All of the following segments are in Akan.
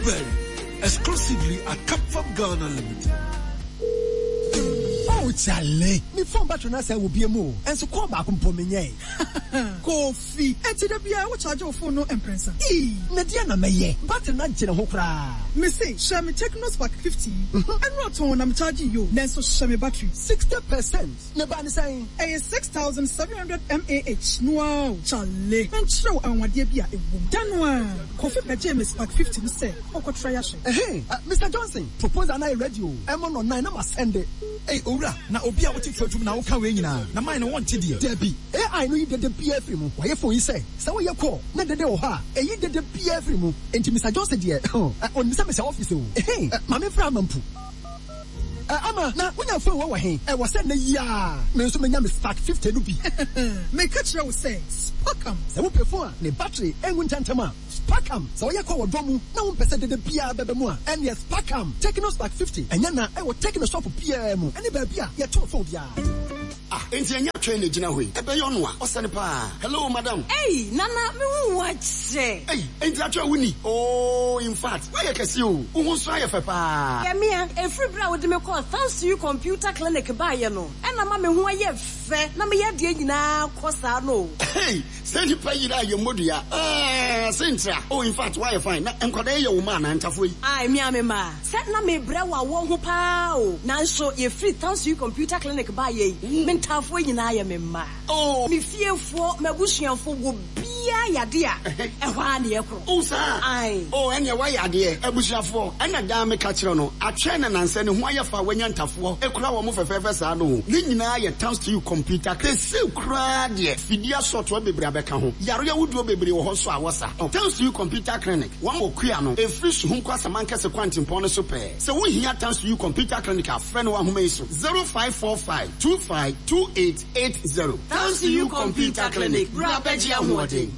Blueberry, exclusively at Capfab Ghana Limited. Oh chale, me phone battery no asɛe wɔ bia mu o, nso call baako mpo menyɛe. Kofi, enti da biara wo charge wo phone no mprɛnsa? Eii, na deɛn na mɛyɛ? Battery no agye ne ho koraa. Mese, hyɛ me Tecno Spark 50 yi. Ɛnora tɔnn na me charge yi o, nanso hyɛ me battery. 60%? Ne ba ne sɛn? Ɛyɛ 6700 mAh no ara o. Chale, menkyerɛ wo anwanwadeɛ bi a ɛwɔ mu. Da no ara, Kofi bɛgyee me Spark 50 no sɛ ɔkɔtra ahwɛ. Ɛhee, Mister Johnson, proposal no ayɛ ready o, ɛmmɔ nnɔnnan na masɛnde. Ei owura, na obi a wote tuatum na woka wei nyinaa, na mine no wonte deɛ? Dabi, AI no yi dede biara firi mu. Wɔayɛ phone yi sɛ, sɛ woyɛ call na dede wɔ hɔ a, ɛyi dede biara firi mu. Enti Mister Johnson deɛ, huh, ɔnim sɛ mehyɛ office o. Ehee, ma memfrɛ Ama mpo. Eh, Ama, na wonya phone wei wɔ he? Ɛwɔ sɛ nnɛ yi ara me nso menya me Spark 50 no bi. Meka kyerɛ wo sɛ, Sparkam. Sɛ wopɛ phone a ne battery nwu ntɛmntɛm a, Sparkam. Sɛ woyɛ call wɔ dɔm mu na wompɛ sɛ dede biara bɛba mu a, ɛnneɛ Sparkam. Tecno Spark 50, ɛnyɛ na ɛwɔ Tecno shop biara mu ne baabi a yɛtɔn phone biara. Ah enti ɛnyɛ atwɛn na egyina hɔ yi? Ɛbɛyɛ ɔno a, ɔsɛ no paa. Hello madam. Ei Nana me hu wo akyɛ. Ei enti atwɛn wo ni? Oh infact woayɛ kɛse o, wo ho nso ayɛ fɛ paa. Yɛ mea, ɛfiri berɛ a wode me kɔɔ Thanks to You Computer Clinic baeɛ no ɛna ama me ho ayɛ fɛ na me yadeɛ nyinaa kɔ saa no o. Hey sɛ nipa yera a yɛ mmɔ dua aah sentra oh infact woayɛ fine na nkwadaa yi yɛ wo mma anaa ntafoɔ yi? Ae mea me mma. Sɛ na mebrɛ wɔ awɔ ho paa o, nanso yɛfiri Townsville Computer Clinic baeɛ yi, me ntaafoɔ nyinaa yɛ me mma. Me fiefoɔ, m'abusuafoɔ, obiara yɛ adeɛ a, ɛhɔ ara na yɛkorɔ. Oh saa? Ae. Oh ɛnneɛ woayɛ adeɛ. Abusuafoɔ, ɛna daa meka kyerɛ no, atwɛn na nansa ne ho ayɛ fɛ a wanya ntafoɔ kura wɔn fɛfɛɛfɛ saa no o. Ne nyinaa yɛ Townsville Computer Clinic. Seesei koraa deɛ, fidie asɔɔtoa bebree abɛka ho. Yareɛ ahodoɔ bebree wɔ hɔ nso a wɔsa. Townsville Computer Clinic. Wɔn wɔ kua no, ɛfiri Suhum kɔ Asamankɛse kwantempɔn no so pɛɛ. Sɛ wohia Tansu Computer Clinic a, frɛ no wɔ ahoma yi so, 0545 25 2880. Tansu Computer Clinic, bra bɛgye ahoɔden.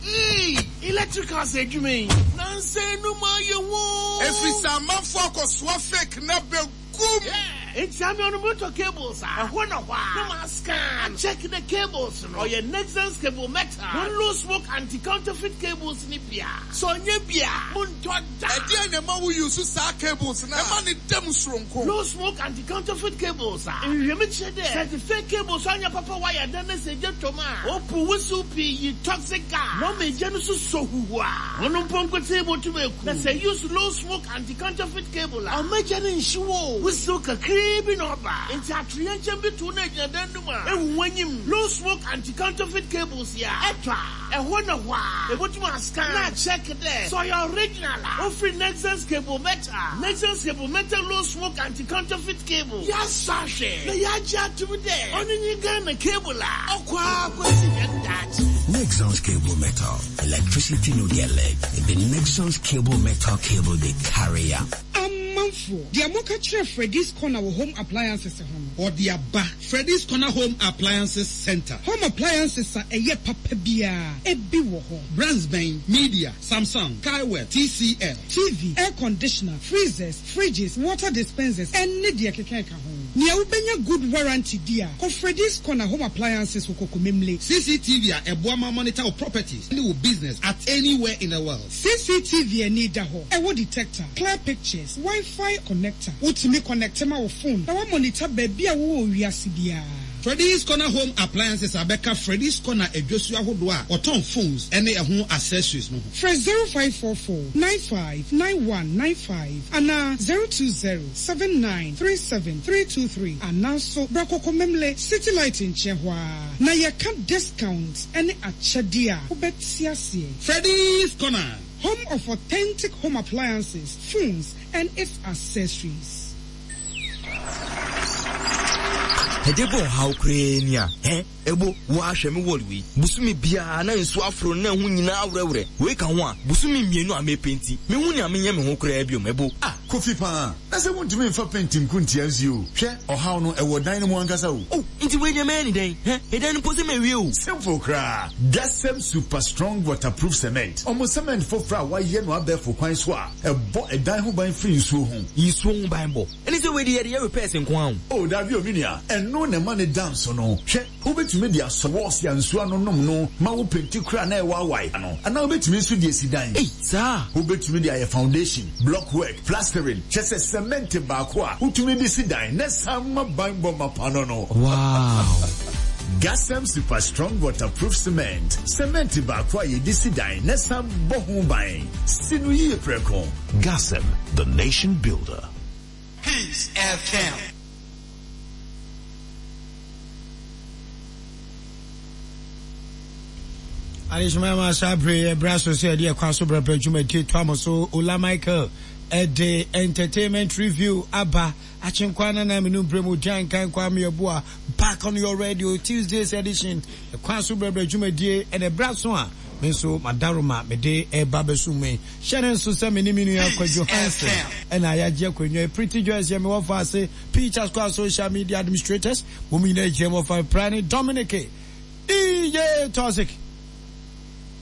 Eii electricals adwuma yi nansa yi no mu ayɛ woo. Ɛfiri sɛ amanfoɔ akɔsoa fake no abɛgu mu. Yeah enti ame ɔno motɔ cables a ɛhɔ na hɔ a na ma scan a check the cables no ɔyɛ Nexans cable metal wɔn low smoke anti counterfeit cables no bi a sɛ ɔnyɛ bi a mo ntɔ da. Ɛdeɛn na ɛma wo use saa cables no a ɛma no da mu soronko? Low smoke anti counterfeit cables a nhwehwɛmu kyerɛ dɛ sɛ edze fake cables a ɔnnyɛ papa wire dan na sɛ egya tɔ mu a opuw wusiw pii yi toxic gas na ɔma egya no so sɔ huhua ɔno mpo nkotsee botum eku na sɛ use low smoke anti counterfeit cable a ɔmma gya no nnhyew o, wusiw kakraa bi na ɔba. Ntsi atoyerɛnkyɛm bi to wo na egyina dan no mu a, ehu w'enyim. Low smoke anti-counterfeit cables yi a ɛtɔ a, ɛhɔ na hɔ ara ebotum ascan na akyɛk dɛ sɛ ɔyɛ original a ofir Nexans Cable Metal. Nexans Cable Metal Low Smoke Anti-Counterfeit Cable. Yɛasɔ ahwɛ na yɛagye ato mu dɛ ɔno nye Ghana cable a ɔkɔ ara kosi hɛn daakye. Nexans Cable Metal, electricity no get leg, e be Nexans Cable Metal cable dey carry am. Amanfoɔ, deɛ moka kyerɛ Freddy's Corner wɔ Home Appliances ho no. Ɔde aba. Freddy's Corner Home Appliances Centre. Home appliances a ɛyɛ papa biara, ebi wɔ hɔ. Brands bɛn? Media, Samsung, Kaiwell, TCL. TV, air conditioner, freezers, fridges, water dispensers, ɛne deɛ ɛkeka ɛka ho. Nea wobɛnya good warranty di a, kɔ Freddy's Corner Home Appliances wɔ Kokomemle. CCTV a ɛboa ma monitor wo properties ne wo business at anywhere in the world. CCTV ani da hɔ, ɛwɔ detector, clear pictures, Wi-Fi connector. Wotumi connecte ma wo phone na woamonitor baabi a wowɔ wɔ wiase biara. Freddy's Corner Home Appliances abɛka Freddy's Corner adwosuo ahodoɔ a wɔtɔn phones ne ɛho accessories no ho. Frɛ 0544 95 9195 anaa 020 79 37 323 anaa nso bra Kokomemle City Light nkyɛn hɔ ara na yɛka discount ne akyɛdeɛ a wobɛte aseɛ. Freddy's Corner. Home of authentic home appliances, phones and its accessories. Ɛde bɔ ɔhaw koraa ni a, hɛ, ɛbo, wo ara hwɛ me wall wei. Bosome biara na nsuo aforo no na ɛho nyinaa awerɛwerɛ. Wei ka ho a, bosome mmienu a mepenti, menhu nea menyɛ me ho koraa biom, ɛbo. Ah! Kofi paa, na sɛ wontumi mfa paint nko ntia nsuo o. Hwɛ, ɔhaw no, ɛwɔ dan no mu ankasa o. Oh, nti wei deɛ mɛyɛ ne dɛn? Hɛ, ɛdan no mpo sɛ mawie o. Simple koraa, Gasem Super Strong Waterproof Cement. Wɔn cement foforɔ a wɔayɛ no abɛɛfo kwan so a ɛbɔ ɛdan ho ban firi nsuo ho. Nsuo ho banbɔ? Ɛne sɛ wei deɛ yɛde yɛ repairs nko ara o. Oh, dabi o, me nua, ɛno na ɛma no da nso no. Hwɛ. Wobɛtumi de asɔ wɔɔse a nsuo ano nom no ma wo penti koraa na ɛwaawae ano, anaa wobɛtumi nso de asi dan. Ei, saa? Wobɛtumi de ayɛ foundation, block work, plastering, kyerɛ sɛ sɛmɛnte baako a wotumi de si dan na ɛsan ma banbɔ mapa no no. Wow! Gasem Super Strong Waterproof Cement, sɛmɛnte baako a yɛde si dan na ɛsan bɔ ho ban. Si no yie prɛko. Gasem, the nation builder. Peace FM. Adehyema ma saa bere yɛ bra so sɛ yɛde ɛkwan so brɛbrɛ dwumadie toa mo so. Ola Michael ɛde entertainment review aba akyenkwa nana menu mprɛ mu gyan kan kwa mmeɛboa back on your radio Tuesday's edition ɛkwan so brɛbrɛ dwumadie ɛna ɛbra so a me nso madaroma mede ɛba bɛso mu yi hyɛ ne nso sɛ me ne me nua Kwadwo Hansen ɛna yɛagye akonnwa Pretty Joyce yɛ mewɔ fa ase Peter Square social media administrators wɔn nyinaa gyina mu ɔfa pra ne Dominic DJ Toxic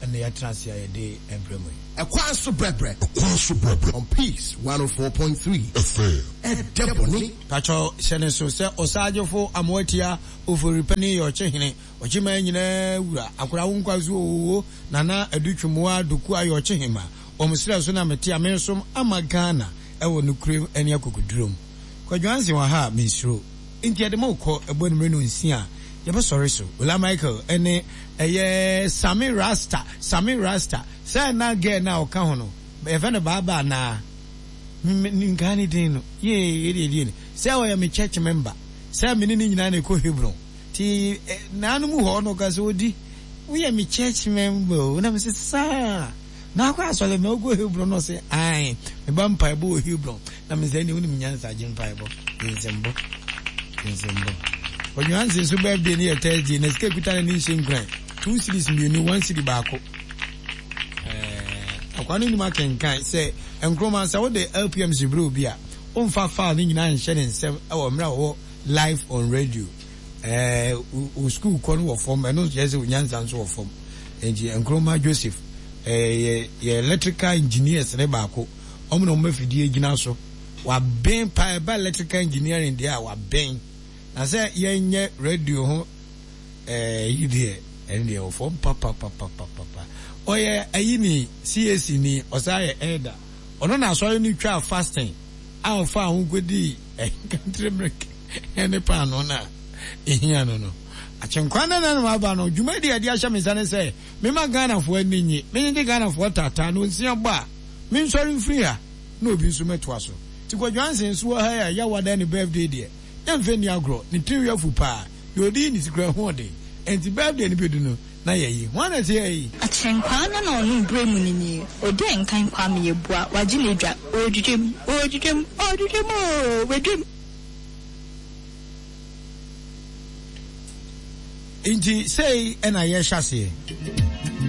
ɛna yɛatena ase a yɛde ɛbrɛ mu yi. Ɛkwan so brɛbrɛ. Ɛkwan so brɛbrɛ. On Peace 104.3 FM. Ɛdɛ bɔne. Pakyɛw hyɛ ne so sɛ Ɔsagyefo Amoatia Oforipani yɛ ɔkyehene, ɔkyeman nyinaa wura, akora wo nkwa so oo, Nana Adu Twumua Doku ayɛ ɔkyehema, wɔn serɛ so na mete a mensom ama Ghana ɛwɔ nokorɛm ɛne akokodurom. Kwadwo Ansen wɔ ha a mensuro. Nti yɛde mo rekɔ ɛbɔ anwummere nonsia a yɛbɛsɔre so. Ola Michael ɛne ɛyɛ Sammy Rasta, Sammy Rasta, sɛ na girl no a ɔka ho no yɛfrɛ no Baaba anaa? Me menkaa ne din no. Yee yɛde yɛde ni. Sɛ ɔyɛ me church member, sɛ me ne ne nyinaa na ɛkɔ Hebron. Nti nanom hɔ no ɔka sɛ odi woyɛ me church member o na me sɛ saa. Na akɔ asɔre na ɔkɔ Hebron na ɔsɛ ae meba mpaebɔ wɔ Hebron na me sɛ ɛne wonim nyansa gye mpaebɔ gye nsɛmbɔ gye nsɛmbɔ Ɔnwanse nso birthday no yɛ Thursday na sika kuta no ne nhyɛ nkuran two series mmienu one series baako ɛɛ akwa no nim akenkan sɛ nkroma sɛ wode LPMC berɛ obi a womfa file no nyinaa nhyɛ ne nsɛm ɛwɔ mmerɛ a wɔwɔ live on radio ɛɛ wo school kɔ no wɔ fam ɛno nso yɛ sɛ onyansa nso wɔ fam nti Nkrumah Joseph ɛɛ yɛ yɛ electrical engineers ne baako wɔn na wɔn afidie gyina so waben paa ɛba electrical engineering deɛ a waben na sɛ yɛnyɛ radio ho ɛɛ yi deɛ ɛne deɛ wɔ fam papapapapapa ɔyɛ ayi ni CAC ni ɔsan yɛ elder ɔno na asɔre no twaa fasting a ɔfaa ho kɔdii ɛnkantere mmerɛkɛ ne paanoo no a ehia no no. Akyenkwa no na waba no, dwumadi a ɛde ahyɛ me nsa ne sɛ memma Ghanafoɔ ani nnye, menyegye Ghanafoɔ taataa na onsia bɔ a, mensɔre mfiri ha na obi nso mmɛtoa so. Nti Kwadwo Ansen nso wɔ ha yi a Yawa da ne birthday deɛ, yɛmfa nni agorɔ, ne tirinwi afu paa, deɛ ɔde yi ne ti koraa ho ɔden, ɛnti birthday no bɛdu no na yɛayi. Hwan na ɛte ha yi? Akyenkwaa no na ɔno brɛ mu no nie, Odi nkan Kwame Yeboah, wagye n'adwa, ɔredwidwam, ɔredwidwam, ɔredwidwam oo, wadwam. Nti sei na yɛhyɛ aseɛ.